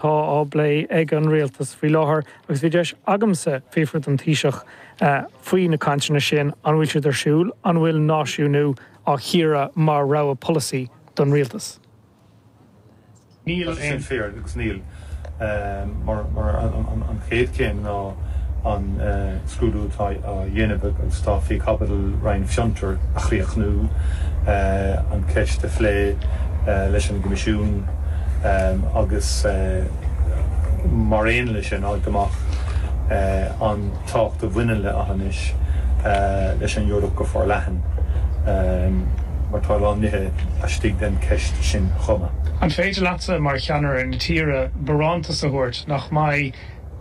Tá á bplé ag an rialtas faoi láthair agus bhí deis agamsa fiafraí den Taoiseach faoi na cainteanna sin, an bhfuil siad ar siúl, an bhfuil náisiúnú á chíoradh mar rogha polasaí don rialtas? Níl aon. Sin fíor agus níl. Mar an chéad chéim ná an scrúdú atá á dhéanamh agus atá faoi chaibidil Roinn Fiontar a chríochnú, an cheist a phlé leis an gCoimisiún agus mar aon leis sin fháilt amach an tábhacht a bhaineann le Aughinish leis an Eoraip go forleathan mar tá a lán nithe laistigh den cheist sin chomh maith. An féidir leatsa, mar cheannaire na tíre, barántas a thabhairt nach mbeidh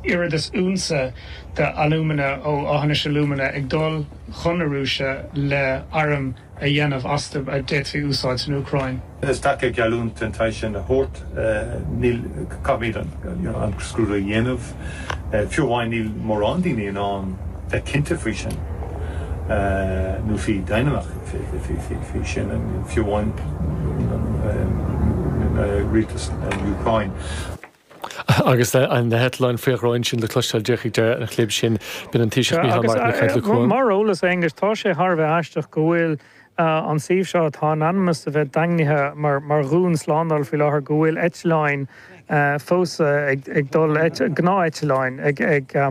oiread is unsa de alúmana ó Aughinish Alumina ag dul chun na Rúise le airm a dhéanamh astu a d'fhéadfaí úsáid san Úcráin. Is deacair geallúint den tsaghas sin a thabhairt. Níl, caithfimid an scrúdú a dhéanamh. Fiú amháin níl mórán daoine in ann bheith cinnte faoi sin, nó faoi deimhneach faoi sin, fiú amháin rialtas na Úcráine. Agus na heitleáin faoi dhroim sin le cloisteáil díreach ag deireadh an chlib sin, b'in an Taoiseach Micheál Martin ag caint le Cuan. Mar eolas, Aonghus, tá sé thar a bheith aisteach go bhfuil an suíomh seo, atá in ainm is a bheith daingnithe mar dhún slándála faoi láthair, go bhfuil eitleáin fós ag dul, gnáth-eitleáin, ag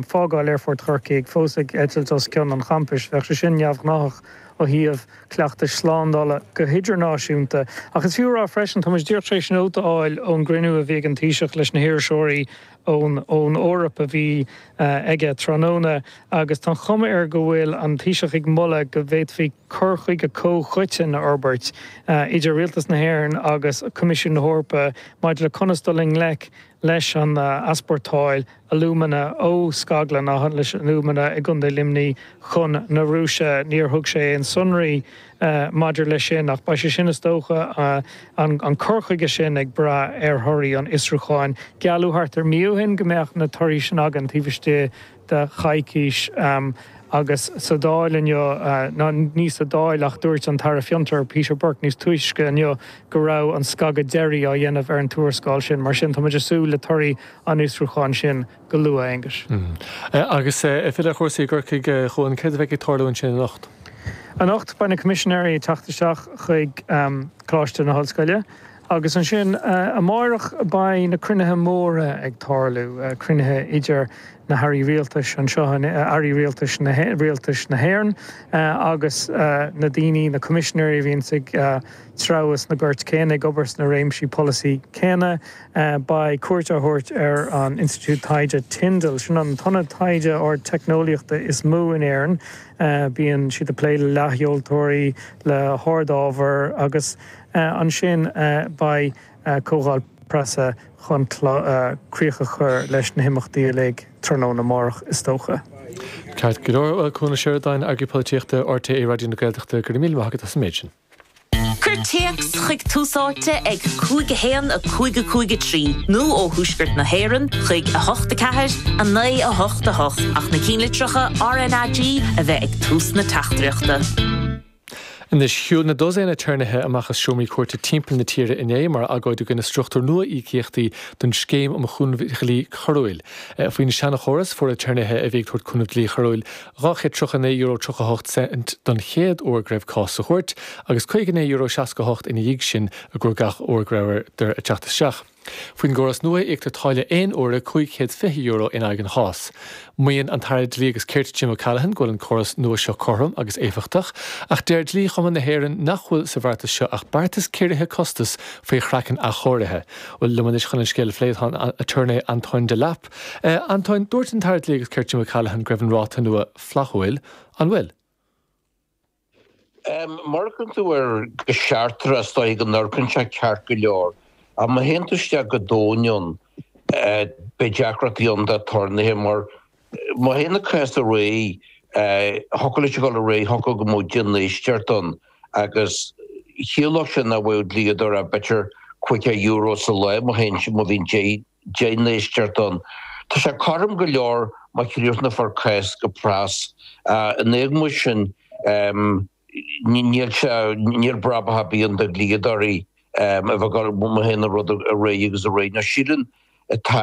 fágáil Aerfort Chorcaí, fós ag eitilt os cionn an champais. Bheadh sé sin neamhghnáthach ó thaobh cleachtais slándála go hidirnáisiúnta. Ach is fiú a rá freisin, tá muid díreach tar éis nóta a fháil ón gcruinniú a bhí ag an Taoiseach leis na hiriseoirí ón ón Eoraip a bhí aige tráthnóna agus tá an chuma air go bhfuil an Taoiseach ag moladh go bhféadfaí cur chuige comhchoiteann a fhorbairt idir Rialtas na hÉireann agus Coimisiún na hEorpa maidir le conas dul i ngleic leis an easpórtáil alúmana ó scaglann Aughinish Alumina i gContae Luimnigh chun na Rúise. Níor thug sé aon sonraí maidir leis sin ach beidh sé sin, is dócha, an cur chuige sin ag brath ar thorthaí an fhiosrúcháin. Gealladh thart ar mí ó shin go mbeadh na torthaí sin againn taobh istigh de choicís agus sa Dáil inniu, ná ní sa Dáil ach dúirt an tAire Fiontar, Peter Burke níos túisce inniu go raibh an scagadh deiridh á dhéanamh ar an tuarascáil sin. Mar sin, tá muid ag súil le torthaí an fhiosrúcháin sin go luath, Aonghus. Agus ag filleadh ar chúrsaí i gCorcaigh, a Chuain, céard a bheidh ag tarlú ansin anocht? Anocht, beidh na Coimisinéirí ag teacht isteach chuig Coláiste na hOllscoile agus ansin amáireach beidh na cruinnithe móra ag tarlú, cruinnithe idir na hairí rialtais anseo, airí rialtais na rialtais na hÉireann agus na daoine, na coimisinéirí a bhíonns ag treabhadh sna goirt céanna, ag obair sna réimsí polasaí céanna. Beidh cuairt á thabhairt ar an Institiúid Taighde Tyndall, sin an t-ionad taighde ardteicneolaíochta is mó in Éirinn. Bíonn siad ag plé le leathsheoltóirí, le hardábhair agus ansin beidh comhdháil preasa chun críoch a chur leis na himeachtaí uilig tráthnóna amárach is dócha. Ceart go leor. Bhuel, Cuan Ó Seireadáin, Eagraí Polaitíochta RTÉ Raidió na Gaeltachta, go raibh míle maith agat as an méid sin. Cuir téacs chuig Tús Áite ag 5 1 5 5 3 nó ó thuaisceart na hÉireann chuig 8 4 9 8 8 ach na cinnlitreacha RnaG a bheith ag tús na teachtaireachta. Anois, shiúil na dosaen aturnaetha amach as seomraí cúirte timpeall na tíre inné mar agóid i gcoinne struchtúr nua íocaíochtaí don Scéim um Chúnamh Dlí Choiriúil. Faoin seanchóras, fuair aturnaetha a bhí ag tabhairt cúnamh dlí choiriúil €239.38 don chéad uair go raibh cás sa chúirt agus €59.68 ina dhiaidh sin i gcomhair gach uair go rabhadar ag teacht isteach. Faoin gcóras nua, íoctar táille aon uaire €520 in aghaidh an chás. Maíonn an tAire Dlí agus Cirt Jim O'Callaghan go bhfuil an córas nua seo cothrom agus éifeachtach, ach deir Dlí-Chumann na hÉireann nach bhfuil sa bheartas seo ach beartas ciorraithe costas faoi chraiceann athchóirithe. Bhuel, liom anois chun an scéal a phlé tá an aturnae Antoin Delap. Antoin, dúirt an tAire Dlí agus Cirt Jim O'Callaghan go raibh an ráta nua flaithiúil. An bhfuil? Má amharcann tú air go seachtrach, is dóigh go n-amharcann sé ceart go leor. Ach má théann tú isteach go domhain ann, beidh deacrachtaí ann d'aturnaetha mar má théann an cás ar aghaidh, thiocfadh leis a dhul ar aghaidh, thiocfadh go mbeadh 10 n-éisteacht ann agus chiallódh sin nach bhfaigheadh dlíodóir ach b'fhéidir €50 sa lá má théann, má bhíonn 10 n-éisteacht ann. Tá sé cothrom go leor má chríochnófar cás go pras. In éagmais sin, níl sé, níl brabach ar bith ann do dhlíodóirí a bheith ag dul, má théann an rud ar aghaidh agus ar aghaidh. Nó sílim. Atá.